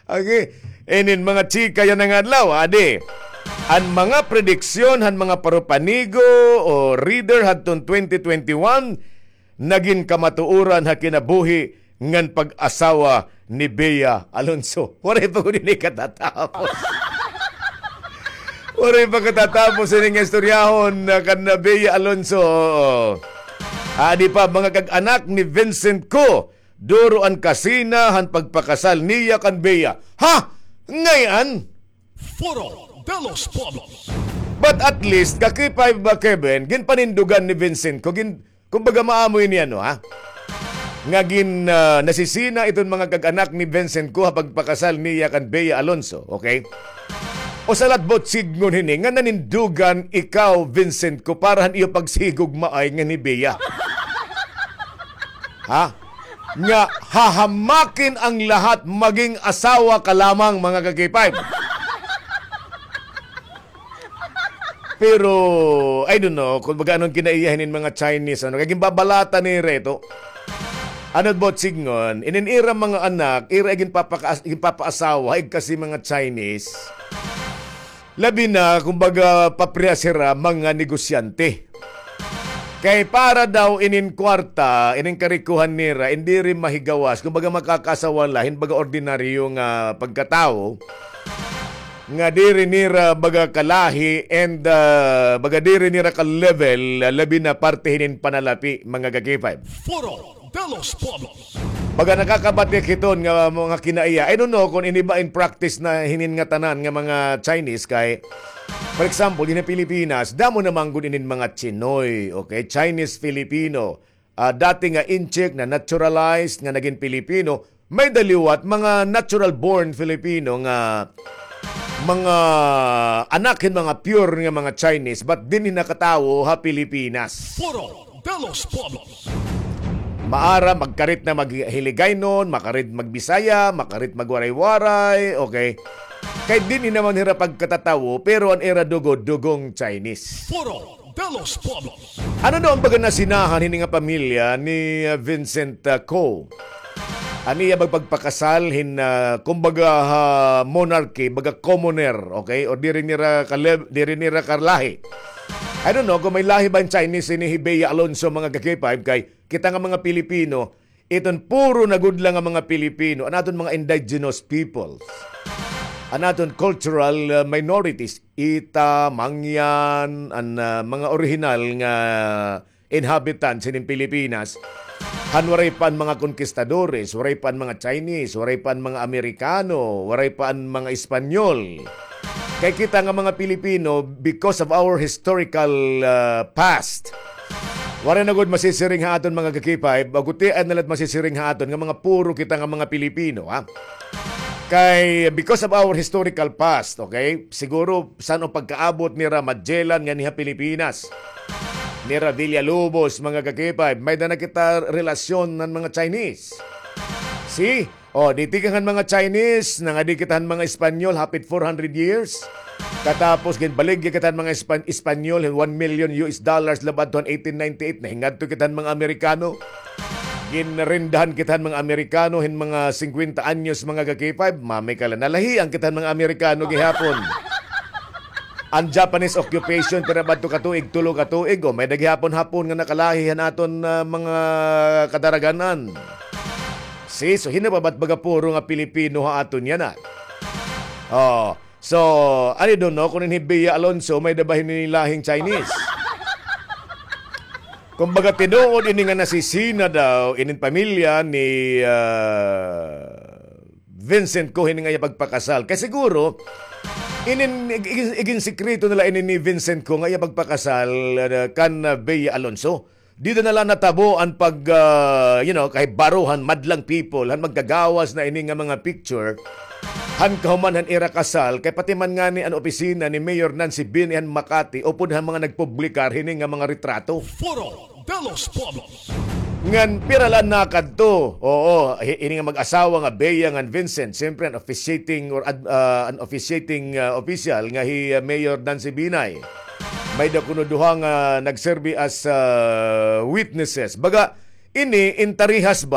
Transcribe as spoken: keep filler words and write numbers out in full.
Okay. Inin mga chika yana nga adlaw, adi. An mga prediksyon han mga parupanigo o reader hadton twenty twenty-one, nagin kamatuoran ha kinabuhi ngan pag-asawa ni Bea Alonso. Waray pa gud ini katatapos. Waray pa katatapos ini nga istoryahon, ah, kan Bea Alonso. Oo. Adi pa, mga kag-anak ni Vincent Co, duro an kasina han pagpakasal niya kan Bea. Ha? Ngay-an? Foro de los Pueblos. But at least, ka K five ba, Kevin, ginpanindugan ni Vincent Co, gin-, kumbaga, maamoy niya, no, ha? Nga gin-, ah, nasisina iton mga kag-anak ni Vincent Co ha pagpakasal niya kan Bea Alonso, okay? Usa la it buot sidngon hini nga nanindugan ikaw, Vincent Co, para han iyo pagsigugmaay ngan hi Bea. Ha? Nga hahamakin ang lahat, maging asawa ka lamang, mga ka-K five. Pero, I don't know, kumbaga, ano an kinaiya hinin mga Chinese, ano, kay ginbabalatan nira ito. Ano it buot sidngon, inin ira mga anak, ira ginpapaka-, ginpapaasawa, igkasi mga Chinese. Labi na, kumbaga, paprehas hira mga negosyante. Kay para daw inin kwarta, inin karikohan nira, in diri mahigawas, kumbaga, makakaasawa la hin baga ordinaryo nga pagkatawo, nga diri nira baga kalahi and, ah, baga diri nira ka-level, ah, labi na parte hinin panalapi, mga ka-K five. Foro de los Pueblos. Baga nakakabatik hiton nga mga kinaiya. I don't know kung ini ba in practice na hinin ngatanan nga mga Chinese kay, for example, dinhi ha Pilipinas, damo na man gud inin mga Chinoy, okay? Chinese Filipino. Ah, dati nga incheck na naturalized nga nagin Pilipino, may-ada liwat mga natural born Filipino nga mga anak hin mga pure nga mga Chinese, but dinhi nakatawo ha Pilipinas. Foro de los Pueblos. Maara, magkarit na maghiligaynon, makarit magbisaya, makarit magwaray-waray, okay? Kay dinhi naman hira pagkatatawo, pero an ira dugo, dugong Chinese. Foro de los Pueblos. Ano daw an baga nasinahan hini nga pamilya ni, uh, Vincent, uh, Co? An iya pag-, pagpakasal hin, uh, kumbaga, ha monarchy, baga commoner, okay? O diri nira kalev-, diri nira kalahi. I don't know kung may lahi ba hin Chinese ini hi Bea Alonso, mga ka-K five, kay kita nga mga Pilipino, iton puro na gud la nga mga Pilipino, an aton mga indigenous peoples, an aton cultural, uh, minorities, Ita, Mangyan, an, uh, mga orihinal nga inhabitants hinin Pilipinas, han waray pa an mga konkistadores, waray pa an mga Chinese, waray pa an mga Amerikano, waray pa an mga Espanyol. Kay kita nga mga Pilipino, because of our historical, uh, past, waray na gud masisiring ha aton mga ka-K five, gutiay na la it masisiring ha aton nga mga puro kita nga mga Pilipino, ha? Kay, because of our historical past, okay? Siguro, san-o pagkaabot nira Magellan nganhi ha Pilipinas, nira Villalobos, mga ka-K five, may-ada na kita relasyon han mga Chinese. See? O, di tikang han mga Chinese, nangadi kita han mga Espanyol, hapit four hundred years. Katapos, ginbaligya kita han mga Espan-, Espanyol, one million U S dollars, la ba adto han eighteen ninety-eight, nahingadto kita han mga Amerikano. Ginrendahan kita han mga Amerikano, hin mga singkwenta anyos, mga ka-K five, mamay ka la, nalahian kita han mga Amerikano gihapon. An Japanese occupation, pira ba adto ka tuig, tulo ka tuig, o, may-ada gihapon Hapon nga nakalahi han aton, ah, mga kadaragan-an. See, so hin-o pa ba it baga puro nga Pilipino ha aton yana? O, so, I don't know kung ini hi Bea Alonso, may-ada ba hini lahing Chinese? Kumbaga, tinuod ini nga nasisina daw inin pamilya ni, ah, Vincent Co hini nga iya pagpakasal. Kay siguro, inin, ig-, ig-, iginsikreto na la ini ni Vincent Co nga iya pagpakasal, ah, kan, ah, Bea Alonso. Dida na la natabo an pag, ah, you know, kahibaro han madlang people, han magkagawas na ini nga mga picture, han kahuman han ira kasal, kay pati man ngani an opisina ni Mayor Nancy Binay han Makati, upod han mga nagpublikar hini nga mga retrato. Foro de los Pueblos. Ngan pira la an nakadto. Oo, hi-, ini nga mag-asawa nga Bea ngan Vincent, siyempre an officiating or ad-, ah, an officiating, ah, official nga hi, ah, Mayor Nancy Binay. May-ada kuno duha nga nagserbi as, ah, witnesses. Baga, ini in tarihas ba